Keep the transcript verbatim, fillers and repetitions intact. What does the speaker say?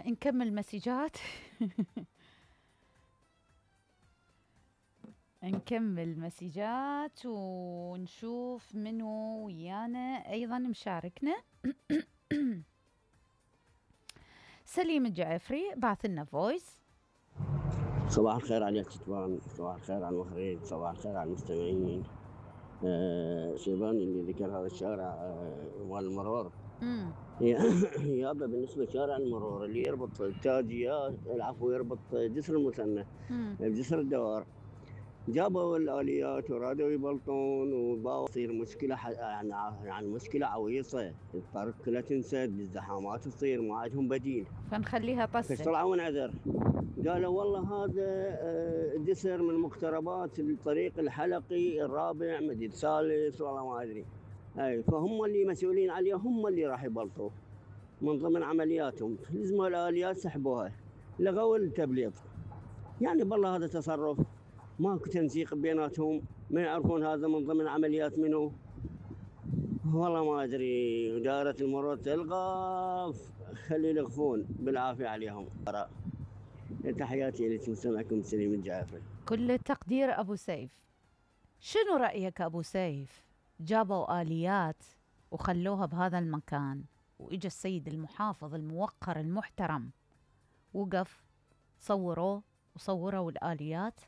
نكمل مسجات. نكمل مسجات ونشوف منو ويانا أيضا مشاركنا. سليم الجعفري بعث لنا فويس. صباح الخير على الكتبان، صباح الخير على المخرج، صباح الخير على المستمعين. آه شيباني اللي ذكر هذا الشارع آه مال المرور. يابا بالنسبة لشارع المرور اللي يربط التاجية العفو يربط جسر المثنى بجسر الدوار، جابوا الآليات ورادوا يبلطون وباو تصير مشكلة يعني يعني مشكلة عويصة، الطرق كلها تنسد بالزحامات تصير ما عندهم بديل، فنخليها طسة. فطلعوا ونعذر قالوا والله هذا جسر من مقتربات الطريق الحلقي الرابع مديد ثالث والله ما ادري، اي فهم اللي مسؤولين عليه، هم اللي راح يبلطوا من ضمن عملياتهم، لزموا الآليات سحبوها لغوا التبليط. يعني بالله هذا تصرف ماكو تنسيق بيناتهم، ما يعرفون هذا من ضمن عمليات منه، والله ما ادري. دائرة المرور تلغى، خلي يلغفون بالعافية عليهم. تحياتي لكم، سمعكم سليم الجعفري. كل التقدير أبو سيف. شنو رأيك أبو سيف؟ جابوا آليات وخلوها بهذا المكان، وإجا السيد المحافظ الموقر المحترم وقف صوروه وصوروا الآليات